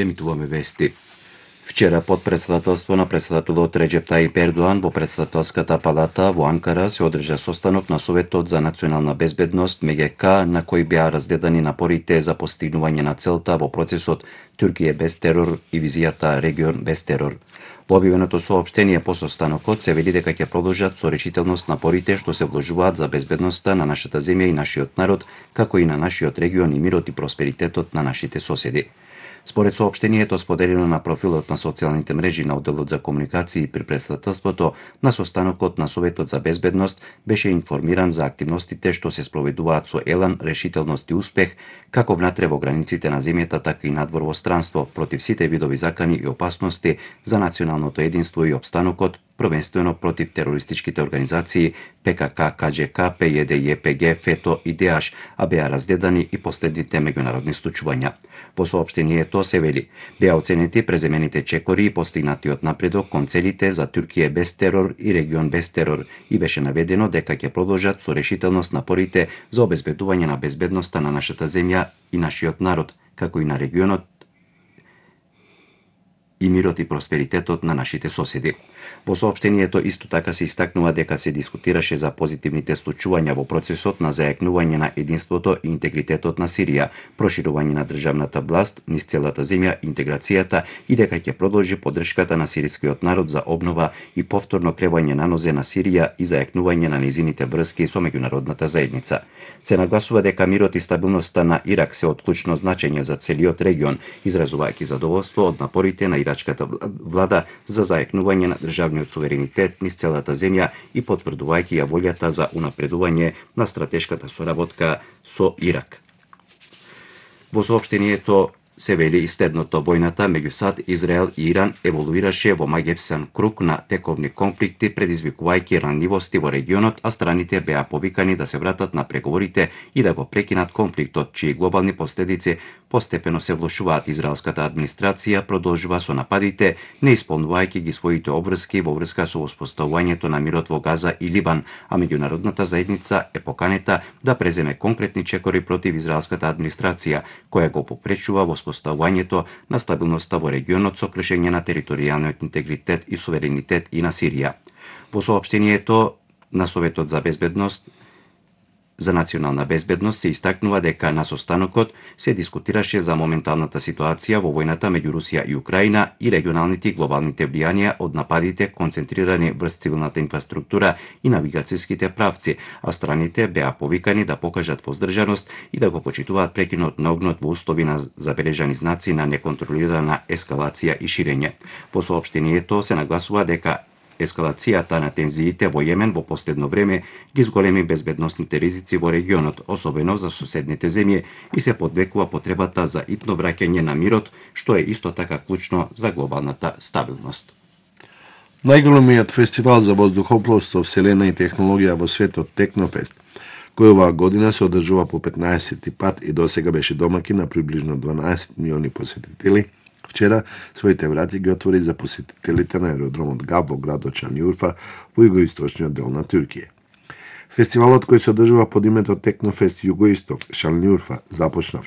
Емитуваме вести. Вчера под председателство на председателот Реџеп Тајип Ердоан во председателската палата во Анкара се одржа состанок на Советот за национална безбедност МГК, на кој беа разгледани напорите за постигнување на целта во процесот Туркија без терор и визијата регион без терор. Во објавеното соопштение по состанокот се вели дека ќе продолжат со решителност напорите што се вложуваат за безбедноста на нашата земја и нашиот народ, како и на нашиот регион и мирот и просперитетот на нашите соседи. Според соопштението споделено на профилот на социјалните мрежи на одделот за комуникации при председателството, на состанокот на Советот за безбедност беше информиран за активностите што се спроведуваат со елан, решителност и успех, како внатре во границите на земјата, така и надвор во странство, против сите видови закани и опасности за националното единство и опстанокот, првенствено против терористичките организации ПКК, КДЖК, ПЈД, ЈПГ, ФЕТО и ДЕАШ, а беа разгледани и последните меѓународни случувања. Во соопштението се вели: беа оценети преземените чекори и постигнатиот напредок кон целите за Туркија без терор и регион без терор и беше наведено дека ќе продолжат со решителност напорите за обезбедување на безбедноста на нашата земја и нашиот народ, како и на регионот и мирот и просперитетот на нашите соседи. Во соопштението исто така се истакнува дека се дискутираше за позитивните случувања во процесот на зајакнување на единството и интегритетот на Сирија, проширување на државната власт низ целата земја, интеграцијата и дека ќе продолжи поддршката на сирискиот народ за обнова и повторно кревање на нозе на Сирија и зајакнување на незините врски со меѓународната заедница. Се нагласува дека мирот и стабилноста на Ирак се од клучно значење за целиот регион, изразувајќи задоволство од напорите на ирачката влада за зајакнување на државниот суверенитет низ целата земја и потврдувајќи ја волјата за унапредување на стратешката соработка со Ирак. Во соопштението се вели и следното: војната меѓу САД, Израел и Иран еволуираше во маѓепсан круг на тековни конфликти, предизвикувајќи ранливости во регионот, а страните беа повикани да се вратат на преговорите и да го прекинат конфликтот, чии глобални последици постепено се влошуваат. Израелската администрација продолжува со нападите, не исполнувајќи ги своите обврски во врска со воспоставувањето на мирот во Газа и Либан, а меѓународната заедница е поканета да преземе конкретни чекори против израелската администрација, која го попречува воспоставувањето на стабилноста во регионот со кршење на територијалниот интегритет и суверенитет и на Сирија. Во соопштението на Советот за безбедност за национална безбедност се истакнува дека на состанокот се дискутираше за моменталната ситуација во војната меѓу Русија и Украина и регионалните и глобалните влијанија од нападите концентрирани врз цивилната инфраструктура и навигацијските правци, а страните беа повикани да покажат воздржаност и да го почитуваат прекинот на огнот во услови на забележани знаци на неконтролирана ескалација и ширење. По соопштението се нагласува дека ескалацијата на тензиите во Јемен во последно време ги зголеми безбедносните ризици во регионот, особено за соседните земји, и се подвекува потребата за итно враќање на мирот, што е исто така клучно за глобалната стабилност. Најголемиот фестивал за воздухопловство, вселена и технологија во светот, Технофест, кој оваа година се одржува по 15 пат и досега беше домаќин на приближно 12 милиони посетители, вчера своите врати ги отвори за посетителите на аеродромот Габ во градот Шанјурфа во југоисточниот дел на Туркија. Фестивалот кој се одржува под името Технофест Југоисток Шанјурфа започна